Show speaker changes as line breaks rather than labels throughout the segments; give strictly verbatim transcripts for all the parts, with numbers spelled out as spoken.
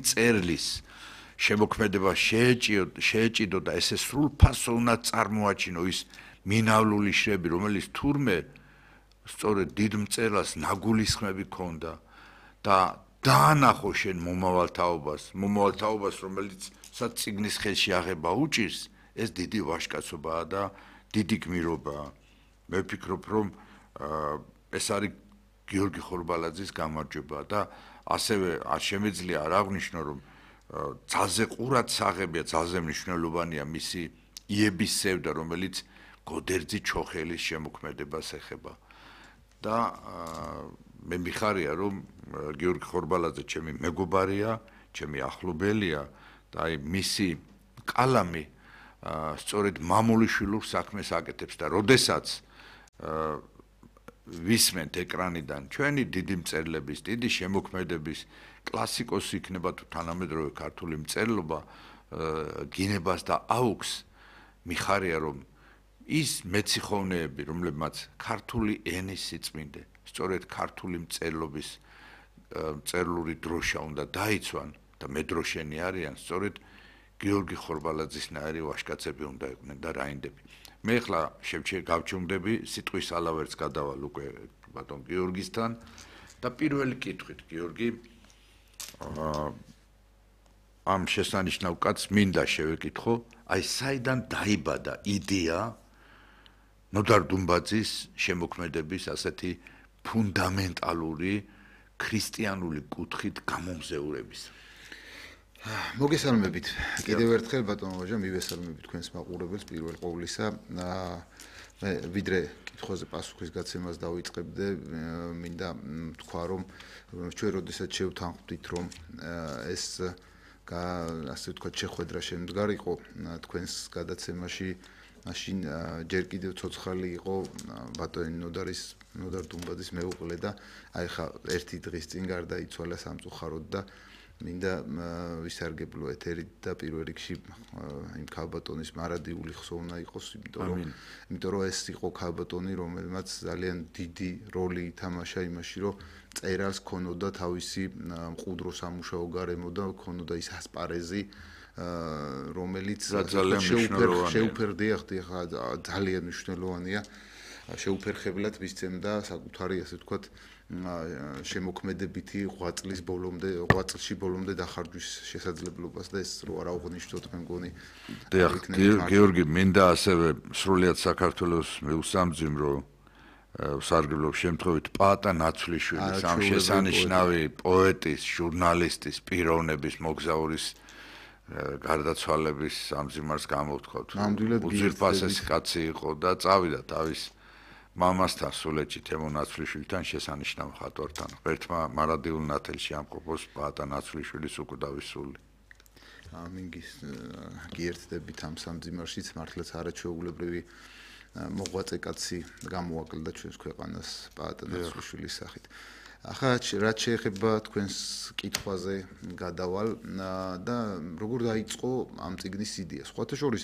მწერლის შემოქმედება შეეჭიდო და ესე სრულფასოვნად წარმოაჩინო ის მინავლული შრები, რომელიც თურმე სწორედ დიდ მწერლს ნაგულისხმები ჰქონდა და დაანახო შენ მომავალთაობას, მომავალთაობას, რომელიც საწიგნის ხელში აღება უჭირს, ეს დიდი ვაჟკაცობაა და დიდი გმირობაა. მე ვფიქრობ, რომ ეს არის გიორგი ხორბალაძის გამარჯვება და ასევე არ შემეძლია არ აღვნიშნო, რომ ძალზე ყურად საღებია, ძალზე მნიშვნელოვანია მისი იების სევდა, რომელიც გოდერძი ჩოხელის შემოქმედებას ეხება. და მე მიხარია, რომ გიორგი ხორბალაძე ჩემი მეგობარია, ჩემი ახლობელია და აი მისი კალამი სწორედ მამულიშვილურ საქმეს აკეთებს და როდესაც ვისმენთ ეკრანიდან ჩვენი დიდი მწერლების, დიდი შემოქმედების კლასიკოსი იქნება თუ თანამედროვე ქართული მწერლობა გინებას და აუქს, მიხარია, რომ ის მეციხოვნეები, რომლებმაც ქართული ენის სიწმინდე, სწორედ ქართული მწერლობის მწერლური დროშა უნდა დაიცვან და მედროშენი არიან, სწორედ გიორგი ხორბალაძისნაირი ვაჟკაცები უნდა იყვნენ და რაინდები. მე ახლა გავჩუმდები სიტყვის ალავერts გადავალ უკვე ბატონ გიორგისთან და პირველი კითხვით, გიორგი, ამ შესანიშნავ კაცს მინდა შევეკითხო, აი საიდან დაიბადა იდეა ნოდარ დუმბაძის შემოქმედების ასეთი ფუნდამენტალური ქრისტიანული კუთხით გამომზეურების.
მოგესალმებით. კიდევ ერთხელ ბატონო ვაჟა, მივესალმებით თქვენს მაყურებელს პირველ ყოვლისა. მე ვიდრე კითხვაზე პასუხის გაცემას დავიწყებდე, მინდა თქვა, რომ ჩვენ როდესაც შევთანხმდით, რომ ეს ასე ვთქვათ, შეხვედრა შემდგარიყო თქვენს გადაცემაში, მაშინ ჯერ კიდევ ცოცხალი იყო ბატონი ნოდარის ნოდარ დუმბაძის მეუღლე და აი ხა ერთი დღის წინ გარდაიცვალა სამწუხაროდ და მინდა ვისარგებლო ეთერით და პირველ რიგში იმ ქალბატონის მარადიული ხსოვნა იყოს, იმიტომ რომ იმიტომ რომ ეს იყო ქალბატონი, რომელმაც ძალიან დიდი როლი ითამაშა იმაში, რომ წერალს ქონოდა თავისი მყუდრო სამუშაო გარემო და ქონოდა ის ასპარეზი, რომელიც შეუფერდია, ხა ძალიან მნიშვნელოვანია, შეუფერხებლად მისცემდა საკუთარი, ასე ვთქვათ, შემოქმედებითი ღვაწლის ბოლომდე, ღვაწლში ბოლომდე დახარჯვის შესაძლებლობას და ეს რო არ აღვნიშნოთ, მე მგონი.
დიახ, გიორგი, მინდა ასევე სრულიად საქართველოს მეუსამძიმრო ვსარგებლობ შემთხვევით პაატა ნაცვლიშვილის, ამ შესანიშნავი პოეტის, ჟურნალისტის, პიროვნების, მოგზაურის გარდაცვალების ამძიმარს გამოვთქვათ. უძვირფასესი კაცი იყო და წავიდა თავის მამასთან სულეთში თემო ნაცვლიშვილთან შესანიშნავ ხატვართან. ღერთმა მარადილ ნათელში ამყოფოს პაატა ნაცვლიშვილის უკვდავი სული.
ამინ გიერთდებით ამ სამძიმარშიც, მართლაც არაჩვეულებრივი მოღვაწე კაცი გამოაკლდა ჩვენს ქვეყანას პაატა ნაცვლიშვილის სახით. ახლა რაც შეეხება თქვენს კითხვაზე გადავალ და როგორ დაიწყო ამ წიგნის იდეა. სხვათა შორის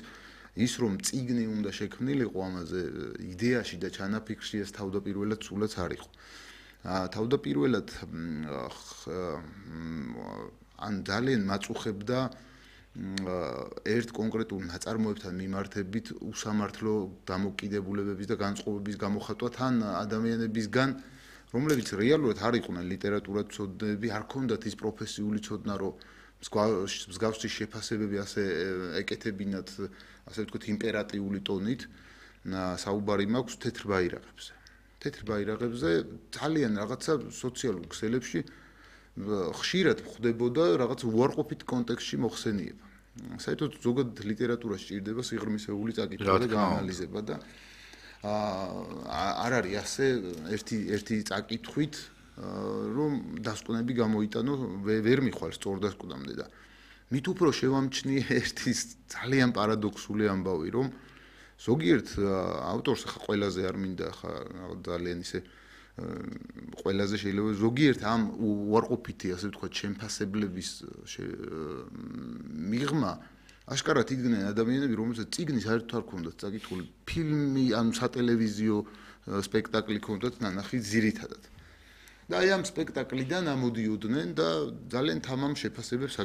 ის რომ წიგნი უნდა შექმნილიყო ამაზე იდეაში და ჩანაფიქრში ეს თავდაპირველად სულაც არ იყო. თავდაპირველად ან ძალიან მაწუხებდა ერთ კონკრეტულ ნაწარმოებთან მიმართებით უსამართლო დამოკიდებულებების და განწყობების გამოხატვა თან ადამიანებისგან, რომლებიც რეალურად არ იყვნენ ლიტერატურათმცოდნეები, არ ქონდათ ის პროფესიული ცოდნა, რომ მსგავსი შეფასებები ასე ეკეთებინათ, ასე ვთქვათ, იმპერატიული ტონით, საუბარი მაქვს თეთრ ბაირაღებზე. თეთრ ბაირაღებზე ძალიან რაღაცა სოციალურ ქსელებში ხშირად ხდებოდა რაღაც უარყოფით კონტექსტში მოხსენიება. საერთოდ ზოგადად ლიტერატურაში ჭირდება სიღრმისეული წაკითხვა და გაანალიზება და არ არის ასე ერთი ერთი წაკითხვით რომ დასკვნები გამოიტანო, ვერ მიხვალ სწორ დასკვნამდე და მით უფრო შევამჩნიე ერთი ძალიან პარადოქსული ამბავი, რომ ზოგიერთ ავტორს ხა ყველაზე არ მინდა ხა ძალიან ისე ყველაზე შეიძლება ზოგიერთ ამ უარყოფითი, ასე ვთქვათ, შემფასებლების მიღმა აშკარად იდგნენ ადამიანები, რომელსაც წიგნის საერთოდ არ ქონდათ წაკითხული, ფილმი ან სატელევიზიო სპექტაკლი ქონდათ ნანახი ძირითადად. და აი ამ სპექტაკლიდან ამოდიოდნენ და ძალიან თამამ შეფასებებს